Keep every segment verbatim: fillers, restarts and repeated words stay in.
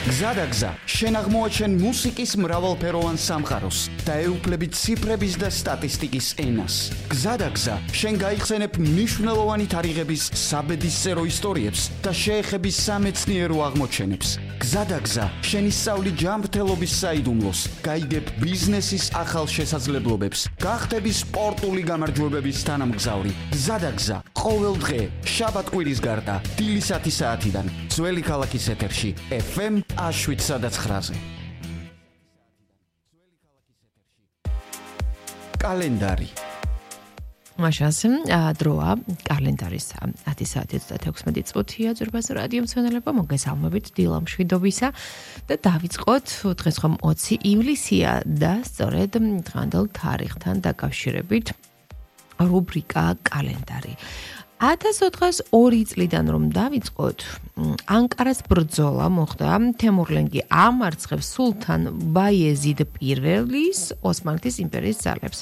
გზადაგზა შენ აღმოაჩენ მუსიკის მრავალფეროვან სამყაროს და ეუფლები ციფრების და სტატისტიკის ენას. გზადაგზა შენ გაიხსენებ მნიშვნელოვანი თარიღების საბედისწერო ისტორიებს და შეეხები სამეცნიერო აღმოჩენებს. გზადაგზა შენ ისწავლი ჯანმრთელობის საიდუმლოს, გაიგებ ბიზნესის ახალ შესაძლებლობებს, გახდები სპორტული გამარჯვებების თანამგზავრი. გზადაგზა ყოველ დღე შაბათ-კვირის გარდა დილის ათი საათიდან ძველი ქალაქის ეთერში ეფ ემ შვიდ სადაც ცხრაზე. კალენდარი. მაშას დროა კალენდარის ათი საათი ოცდაექვსმეტი წუთია ძვირფასო რადიო მსმენელებო, მოგესალმებით დილა მშვიდობისა და დავიწყოთ დღეს ხომ ოცი ივლისია და სწორედ დღევანდელ თარიღთან დაკავშირებით რუბრიკა კალენდარი. ათას ოთხასორი წლიდან რომ დავიწყოთ, ანკარას ბრძოლა მოხდა თემურლენგი ამარცხებს სულთან ბაიეზიდ პირველის ოსმალეთის იმპერიის ძალებს.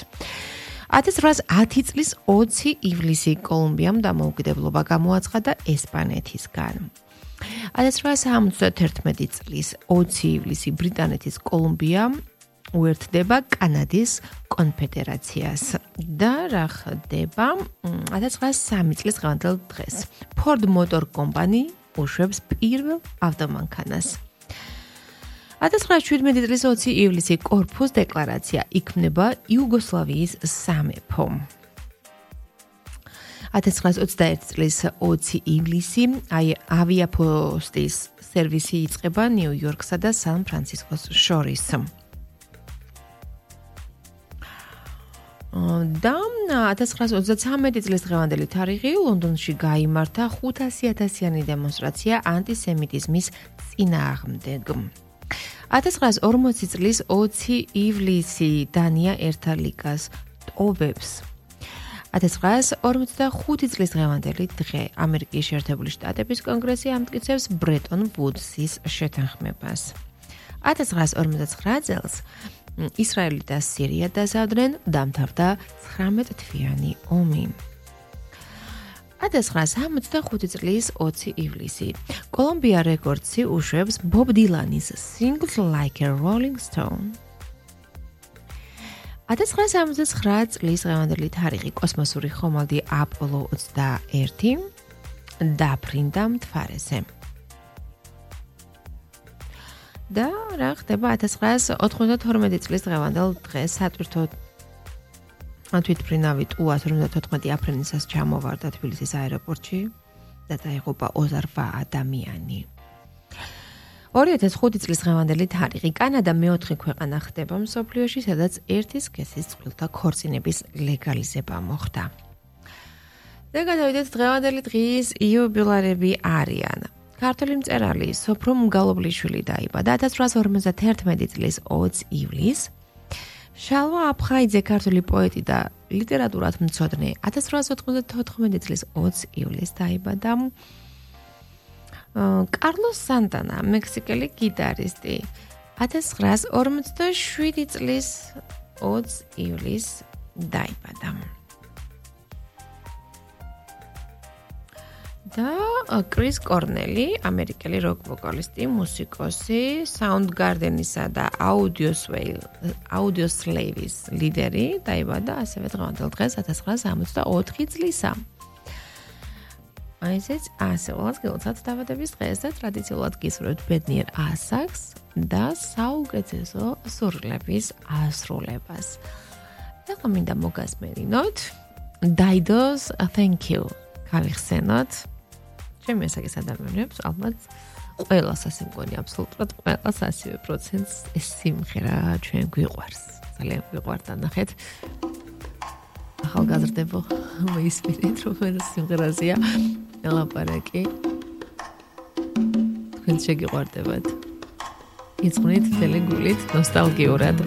ათას რვაას ათი წლის ოცი ივლისი კოლუმბიამ დამოუკიდებლობა გამოაცხადა ესპანეთისგან. ათას რვაას ორმოცდაერთი წლის ოცი ივლისი ბრიტანეთის კოლუმბია უერთდება კანადის კონფედერაციას და რა ხდება ათას ცხრაას სამი წლის დღევანდელ დღეს. Ford Motor Company უშვებს პირველ ავტომანქანას. ათას ცხრაას შვიდმეტი წლის ოცი ივლისი კორფუს დეკლარაცია იქმნება იუგოსლავიის სამეფო. ათას ცხრაას ოცდაერთი წლის ოცი ივლისი ავიაპოსტის სერვისი იწყება ნიუ-იორკსა და სან-ფრანცისკოს შორის. და ათას ცხრაას ოცდაცამეტი წლის დღევანდელი თარიღი ლონდონში გაიმართა ხუთასი ათასიანი დემონსტრაცია ანტისემიტიზმის წინააღმდეგ. ათას ცხრაას ორმოცი წლის ოცი ივლისი დანია ერთა ლიგას ტოვებს. ათას ცხრაას ორმოცდახუთი წლის დღევანდელი დღე ამერიკის შეერთებული შტატების კონგრესი ამტკიცებს ბრეტონ ვუდსის შეთანხმებას. ათას ცხრაას ორმოცდაცხრა წელს ისრაელი და სირია დასავდნენ, დამთავრდა ცხრამეტთვიანი ომი. ათას ცხრაას ორმოცდახუთი წლის ოცი ივლისი კოლუმბია რეკორდსი უშვებს ბობ დილანის Sings Like a Rolling Stone. ათას ცხრაას ორმოცდაცხრა წლის დღევანდელი თარიღი კოსმოსური ხომალდი აპოლო ოცდაერთი დაფრინდა მთვარეზე. და რა ხდება ათას ცხრაას ოცდათორმეტი წლის დღევანდელ დღეს სატვირთო თვითმფრინავი ტუა ორმოცდათოთხმეტი აფრენისას ჩამოვარდა თბილისის აეროპორტში და დაიღუპა ოცდაოთხ ადამიანი. ორი ათას ხუთი წლის დღევანდელი თარიღი კანადა მეოთხე ქვეყანა ხდება მსოფლიოში, სადაც ერთი სქესის წყვილთა ქორწინების ლეგალიზება მოხდა. და გადავიდეთ დღევანდელი დღის იუბილარები არიან. ქართველი მწერალი სოფრო მგალობლიშვილი დაიბადა ათას რვაას ორმოცდაერთმეტი წლის ოცი ივლისს. შალვა აფხაიძე ქართველი პოეტი და ლიტერატურათმცოდნე ათას რვაას ოთხმოცდათოთხმეტი წლის ოცი ივლისს დაიბადა. კარლოს სანტანა მექსიკელი გიტარისტი ათას ცხრაას ორმოცდაშვიდი წლის ოცი ივლისს დაიბადა. და კრის კორნელი, ამერიკელი როკ ვოკალისტი, მუსიკოსი, Soundgarden-ისა და Audioslave-ის ლიდერი, დაიბადა ასევე დღევანდელ დღეს ათას ცხრაას ორმოცდაოთხი წლისა. აი ესეც ასეულად გილოცავთ დაბადების დღეს და ტრადიციულად გისურვებთ ბედნიერ ასაკს და საუკეთესო სურვილების ასრულებას. და მინდა მოგასმენინოთ Dido's Thank You. გავიხსენოთ ჩემი ასაკის ადამიანებს, ალბათ ყველას ასე მგონი, აბსოლუტურად ყველას ასივე პროცენტს ეს სიმღერა ჩვენ გვიყვარს. ძალიან გვიყვართ და ნახეთ. ახალგაზრდებო, მოისმინეთ რომ ეს სიმღერაზეა ელაპარაკი. თქვენ შეგიყვარდებათ. იცნით თელი გულით ნოსტალგიურად.